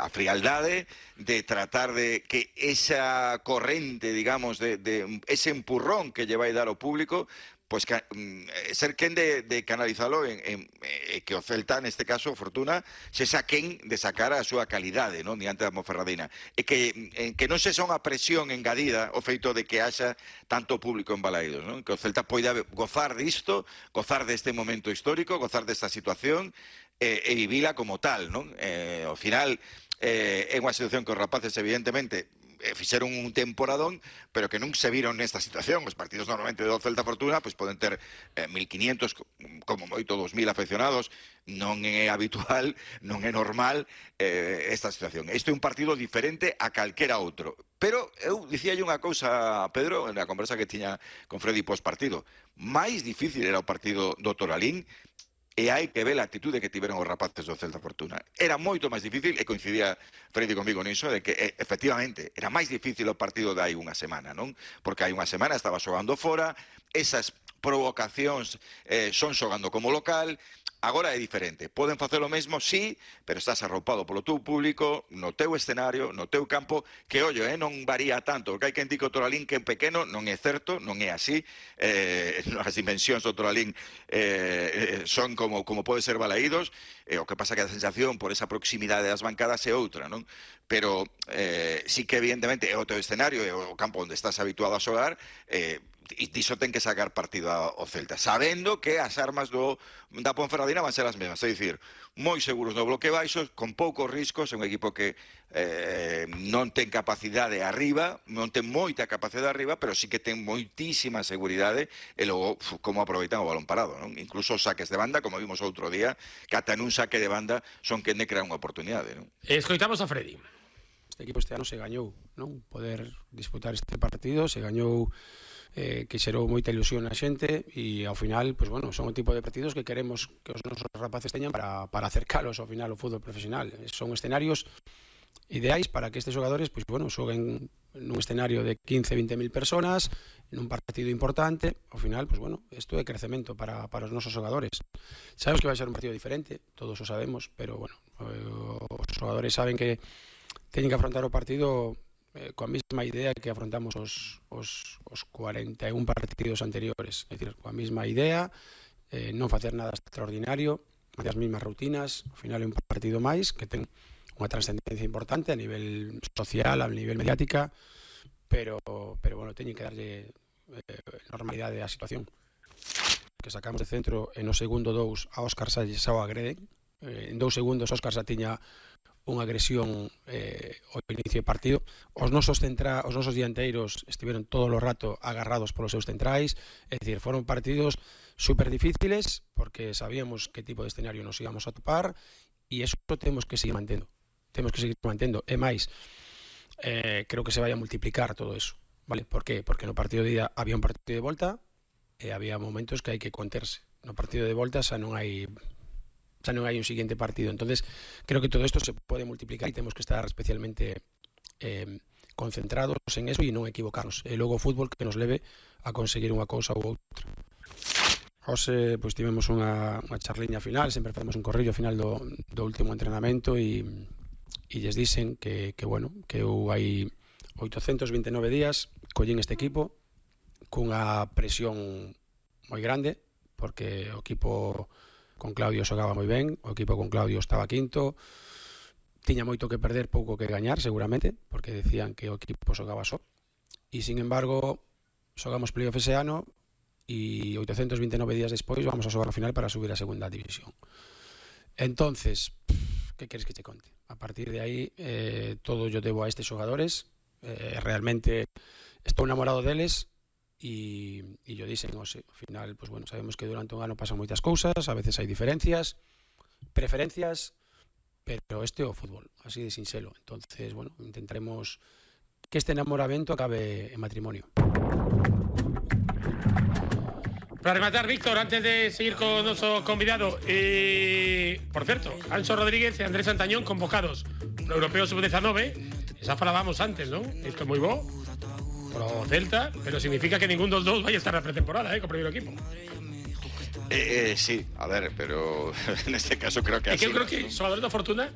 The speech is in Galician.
a frialdade de tratar de que esa corrente, digamos, de ese empurrón que lle vai dar ao público, pois ser quen de canalizalo que o Celta, neste caso, o Fortuna, se saquen de sacar a súa calidade, non, diante da Ponferradina, e que non se son a presión engadida o feito de que haxa tanto público en Balaídos, non? Que o Celta poida gozar disto, gozar deste momento histórico, gozar desta situación e vivila como tal, non? Ao final é unha situación que os rapaces, evidentemente, fixeron un temporadón, pero que non se viron nesta situación. Os partidos normalmente do Celta Fortuna pois poden ter 1.500, como moito 2.000 afeccionados. Non é habitual, non é normal esta situación. Isto é un partido diferente a calquera outro. Pero eu dicíalle unha cousa a Pedro na conversa que tiña con Freddy pós-partido. Mais difícil era o partido do Toralín, e hai que ver a actitude que tiveron os rapaces do Celta Fortuna. Era moito máis difícil, e coincidía Freddy comigo niso, de que efectivamente era máis difícil o partido de hai unha semana, non? Porque hai unha semana estaba xogando fora, esas provocacións son xogando como local. Agora é diferente. Poden facer o mesmo, sí, pero estás arropado polo teu público, no teu escenario, no teu campo, que, ollo, non varía tanto, porque hai quen di que o Toralín que é pequeno, non é certo, non é así. As dimensións do Toralín son como pode ser Balaídos, o que pasa que a sensación por esa proximidade das bancadas é outra, non? Pero sí que evidentemente é o teu escenario, é o campo onde estás habituado a xogar, e diso ten que sacar partido ao Celta, sabendo que as armas da Ponferradina van ser as mesmas, é dicir, moi seguros no bloque baixo, con poucos riscos, é un equipo que non ten capacidade arriba, non ten moita capacidade arriba, pero sí que ten moitísima seguridade, e logo como aproveitan o balón parado, non? Incluso os saques de banda, como vimos outro día, que ata nun saque de banda son quen de crear unha oportunidade, non? Escoitamos a Freddy. Este equipo este ano se gañou, non? Poder disputar este partido, se gañou, que xerou moita ilusión na xente, e ao final, pois bueno, son o tipo de partidos que queremos que os nosos rapaces teñan para acercalos ao final ao fútbol profesional. Son escenarios ideais para que estes xogadores, pois bueno, xoguen nun escenario de 15-20.000 personas, nun partido importante. Ao final, pois bueno, isto é crecemento para os nosos xogadores. Sabemos que vai ser un partido diferente, todos o sabemos, pero bueno, os xogadores saben que teñen que afrontar o partido coa mesma idea que afrontamos os 41 partidos anteriores, é dicir, coa mesma idea, non facer nada extraordinario, as mesmas rutinas. Ao final é un partido máis que ten unha trascendencia importante a nivel social, a nivel mediática, pero bueno, teñen que darlle normalidade á situación. Que sacamos de centro, e no segundo 2 a Óscar Salles xa o agreden, en 2 segundos Óscar xa tiña unha agresión ao inicio do partido. Os nosos dianteiros estiveron todo o rato agarrados polos seus centrais, é dicir, foron partidos super difíciles, porque sabíamos que tipo de escenario nos íbamos a topar, e eso temos que seguir mantendo. E máis, creo que se vai a multiplicar todo eso, vale? Por qué? Porque no partido de ida había un partido de volta, e había momentos que hai que conterse. No partido de volta xa non hai un siguiente partido. Entonces creo que todo esto se puede multiplicar, e temos que estar especialmente concentrados en eso e non equivocarnos. E logo o fútbol que nos leve a conseguir unha cousa ou outra. Hoxe pois tivemos unha charliña final, sempre facemos un corrillo final do último entrenamento, e lles dicen que bueno, que eu hai 829 días collín este equipo cunha presión moi grande, porque o equipo con Claudio xogaba moi ben, o equipo con Claudio estaba quinto, tiña moito que perder, pouco que gañar seguramente, porque decían que o equipo xogaba só, e sin embargo xogamos playoff ese ano, e 829 días despois vamos a xogar a final para subir a segunda división. Entonces, que queres que te conte? A partir de aí, todo yo debo a estes xogadores, realmente estou enamorado deles, e yo dicen, ao final, pues bueno, sabemos que durante un ano pasan moitas cousas, a veces hai diferencias, preferencias, pero este é o fútbol, así de sinxelo. Entonces, bueno, intentaremos que este enamoramento acabe en matrimonio. Para rematar, Víctor, antes de seguir con nuestro convidado, por cierto, Anxo Rodríguez e Andrés Santañón convocados no Europeo Sub-19, esa falábamos antes, ¿no? Isto é moi bo pro Celta, pero significa que ningún dos vai a estar na pretemporada, co primeiro equipo. Sí, a ver, pero en este caso creo que así. Eu creo que xogadores da Fortuna